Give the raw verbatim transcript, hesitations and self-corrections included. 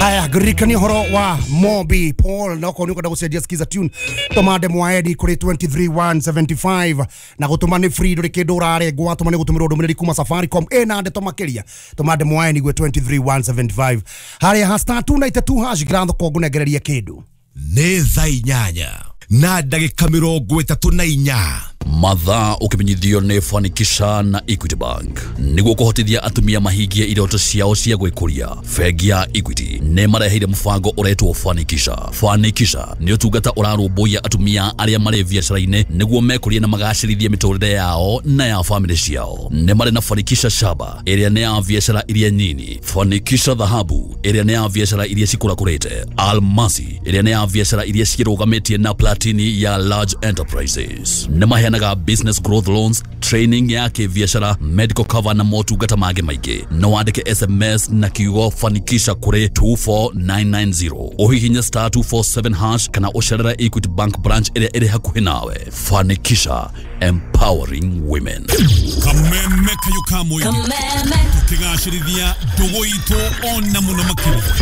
Aya, ngũririkania ũhoro wa Mobi Paul na okorwo nĩ ũkwenda gũcenjia skiza tune, tũma ndemwa edi kũrĩ twenty-three one seventy-five na gũtũma nĩ free, ndũrĩ kĩndũ ũrarengwo. Watũma nĩ gũtũmĩrwo ndũmĩrĩri kuma Safaricom ĩna ndeto makĩria. Tũma ndemwa edi gwĩ twenty-three one seventy-five harĩa ha star two nine two hash ngirathoko ngũnengererie kĩndũ. Nĩ thaa inyanya na ndagĩka mĩrongo ĩtatũ na inya. Mathaa ũkĩmenyithio nĩ Fanikisha na Equity Bank nĩguo kũhotithia atumia mahingie iroto ciao cia gwĩkũria. Bengi ya Equity nĩ mareheire mũbango ũretwo Fanikisha. Fanikisha nĩ ũtungata ũrarũmbũiya atumia arĩa marĩ biacara-inĩ nĩguo mekũrie na magacĩrithie mĩtũrĩre yao na ya famĩlĩ ciao. Nĩ marĩ na Fanikisha Shaba, ĩrĩa nĩ ya biacara iria nyini, Fanikisha Dhahabu, ĩrĩa nĩ ya biacara iria cikũrakũrĩte, Almasi, ĩrĩa nĩ ya biacara iria ciĩrũgamĩtie, na Platini ya large enterprises. Nĩ maheanaga business growth loans, training ya kĩbiacara, medical cover na motungata mangĩ maingĩ. No wandĩke S M S na kiugo Fanikisha kũrĩ two four nine nine zero, ũhihinye star two four seven hash kana ũcerere Equity Bank branch ĩrĩa ĩrĩ hakuhĩ nawe. Fanikisha, empowering women. Kameme kayo ka mũingĩ, tũkĩgacĩrithia ndũgũ itũ ona mũno makĩria.